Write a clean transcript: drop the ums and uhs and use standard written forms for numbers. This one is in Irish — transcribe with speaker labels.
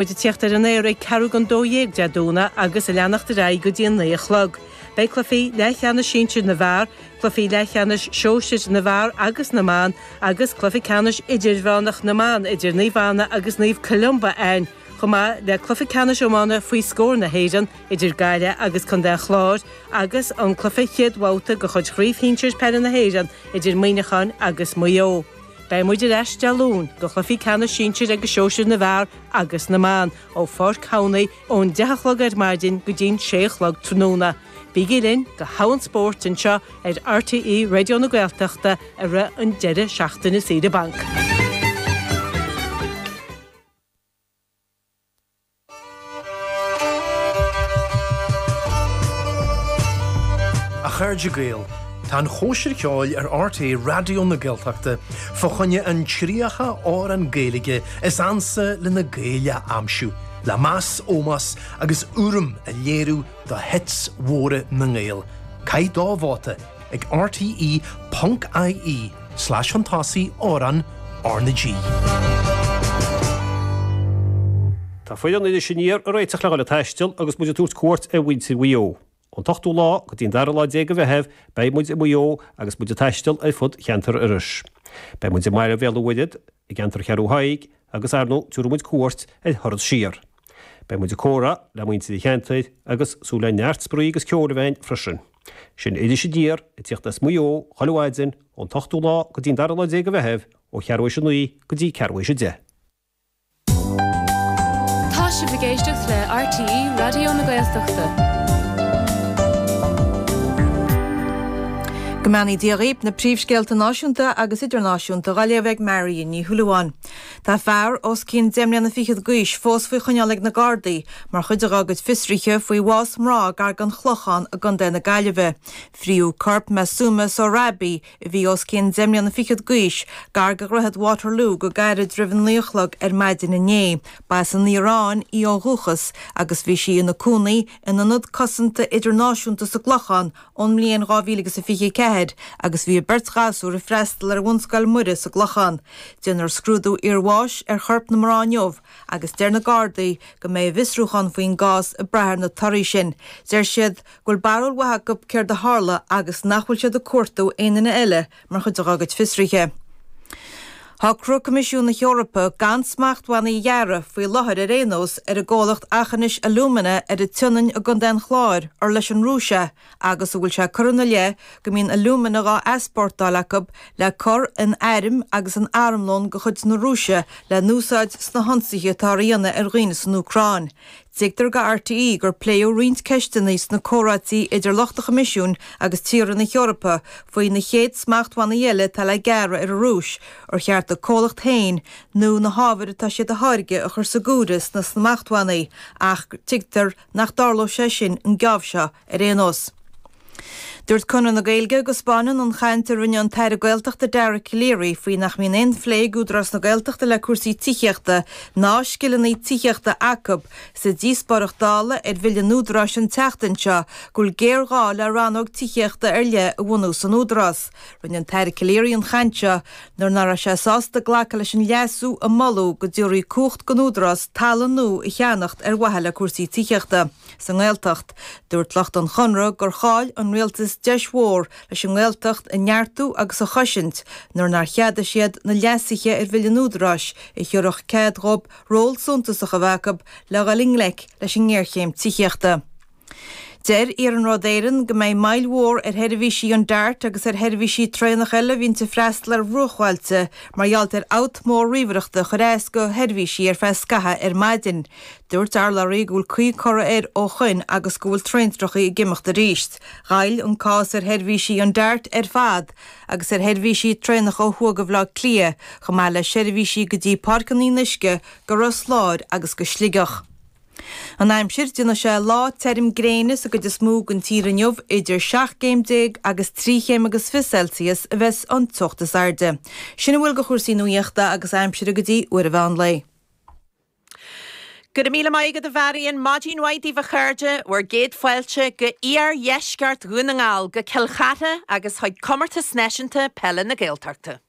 Speaker 1: Muid ag tíocht ar an aer ag ceathrú don 12 Dé Domhnaigh agus ag leanacht ar aghaidh go dtí an 9 a chlog. Beidh cluichí leathcheannais sinsir na bhfear, cluichí leathcheannais sóisir na bhfear agus na mban agus cluiche ceannais idirmheánach na mban idir Naomh Anna agus Naomh Columba ann, chomh maith le cluiche ceannais iomána faoi scór na hÉireann idir Gaillimh agus Contae an Chláir agus an cluiche chéad bhabhta de chuid Chraobh Shinsir Peile na hÉireann idir Muineachán agus Maigh Eo. Beidh muid ar ais Dé Luain do chluichí ceannais sinsir agus sóisir na bhfear agus na mban ó Pháirc Thamhnaigh ón 10 a chlog ar maidin go dtí'n 6 a chlog tráthnóna. Bígí linn do thogha an spóirt anseo ar RTÉ Raidió na Gaeltachta i rith an deireadh seachtaine saoire bainc.
Speaker 2: A chairde Gael, tá an Chóisir Cheoil ar RTÉ Raidió na Gaeltachta fá choinne an 30 amhrán Gaeilge is ansa le na Gaeil a aimsiú, le meas, ómós agus urraim a léiriú do hits mhóra na nGael. Caith do vóta ag rte ponc ie slash chun tosaigh amhrán R na G.
Speaker 3: Tá foireann Iris Aniar ag réiteach le dhul ag taisteal agus muid ag tabhairt cuairt ar mhuintir Mhaigh Eo. Ón t-ochtú lá go dtí an dara lá déag de Mheitheamh beidh muid i Maigh Eo agus muid ag taisteal ar fud cheantar Iorrais. Beidh muid i mBaile Bhéal an Mhuirthead, i gceantar Cheathrú Thaidhg agus ar ndóigh tabharfaidh muid cuairt ar Thuras Siar. Beidh muid ag comhrá le muintir an cheantair agus súil le neart spraoi agus ceoil a bheith ann freisin. Sin Iris Aniar ag tíocht as Maigh Eo chuile mhaidin ón t-ochtú lá go dtí an dara lá déag de Mheitheamh ó cheathrú théis a naoi go dtí ceathrú théis a deich.
Speaker 4: Tá sibh ag éisteacht le RTÉ Raidió na Gaeltachta.
Speaker 5: Go mbeannaí Dia dhaoib, na príomhscéalta náisiúnta agus idirnáisiúnta dhá léamh ag Marion Ní Shúilleabháin. Tá fear os cionn deich mbliana fichead d'aois fós faoi choinneáil ag na Gardaí mar chuid dá gcuid fiosruithe faoi bhás mná gar don Chlochán i gContae na Gaillimhe. Fríodh corp Masooma Sohrabi, a bhí os cionn deich mbliana fichead d'aois, gar do Dhroichead Waterloo go gairid roimh a naoi a chlog ar maidin inné. Ba as an Iaráin í ó dhúchas agus bhí sí ina cónaí in Ionad Cosanta Idirnáisiúnta sa gClochán ón mbliain 2024 agus bhí a beirt ghasúr ag freastal ar Bhunscoil Muire sa gClochán. Déanfar scrúdú iarbháis ar chorp na mná inniu agus deir na Gardaí go mbeidh a bhfiosrúchán faoin gcás ag brath ar na torthaí sin. Deir siad go bhfuil barúil mhaith acu céard a tharla agus nach bhfuil siad ag cuartú aon duine eile mar chuid dá gcuid fiosruithe. Shocraigh Coimisiún na hEorpa gan smachtbhannaí a ghearradh, faoi láthair ar aon nós, ar an gcomhlacht Aughinish Alumina ar an tSionainn i gContae an Chláir, ar leis an Rúis é, agus a bhfuil sé curtha ina leith go mbíonn alúmana dhá easpórtáil acu le cur in airm agus in armlón de chuid na Rúise le n-úsáid sna hionsaithe atáthar a dhéanamh ar dhaoine san Úcráin. Tuigtear do RTÉ gur pléadh roinnt ceisteanna sna comhráití idir lucht an Choimisiúin agus tíortha na hEorpa faoi na chéad smachtbhannaí eile atá le gearradh ar an Rúis, ar cheart an comhlacht féin nó na hábhair atá siad a tháirgeadh a chur sa gcomhaireamh sna smachtbhannaí ach tuigtear nach dtarlóidh sé sin an geábh seo ar aon nós. Dúirt Conradh na Gaeilge go 'spáineann an chaint a rinne an tAire Gaeltachta Dara Calleary faoi nach mbíonn aon phlé ag Údarás na Gaeltachta le cúrsaí tithíochta ná scileanna tithíochta acu sa díospóireacht Dála ar Bhille an Údaráis an tseachtain seo go bhfuil géarghá le rannóg tithíochta ar leith a bhunú san Údarás. Rinne an tAire Calleary an chaint seo nuair nach raibh sé sásta glacadh leis an leasú a moladh go dtabharfaí cumhacht don Údarás talamh nua a cheannacht ar mhaithe le cúrsaí tithíochta. Sa nGaeltacht, dúirt lucht an Chonradh gur chaill an rialtas deis mhór leis an nGaeltacht a neartú agus a chosaint nuair nár cheadaigh siad na leasuithe ar Bhille an Údaráis a thabharfadh cead dhóibh ról suntasach a bheith acu le dhul i ngleic leis an ngéarchéim tithíochta. Deir Iarnród Éireann go mbeidh moill mhór ar sheirbhísí an Dart agus ar sheirbhísí traenach eile a bhíonns ag freastal ar bhruachbhailte mar gheall ar fhabht mór ríomhaireachta a chuir as do sheirbhísí ar feadh scaithimh ar maidin. Dúirt urlabhraí go bhfuil caoi curtha air ó shoin agus go bhfuil traentreachaí ag imeacht arís. Ghoill an cás ar sheirbhísí an Dart ar fad agus ar sheirbhísí traenach ó thuaidh de Bhaile Átha Cliath, chomh maith le seirbhísí go dtí Páirc an Fhionnuisce, go Ros Láir agus go Sligeach. An aimsir, Déanfaidh sé lá tirim gréine sa gcuid is mó den tír inniu, idir 17 gcéim agus 3 chéim agus 20 Celsius a bheas an teocht is airde. Sin a bhfuil de chúrsaí nuaíochta agus aimsire go dtí uair an mheán lae.
Speaker 6: Go raibh míle maith agat a Mharion. Maidin mhaith daoibh a chairde, bhur gcéad fáilte go iardheisceart Dhún na nGall, go Cill Chartha agus chuig Comórtas Náisiúnta Peile na Gaeltachta.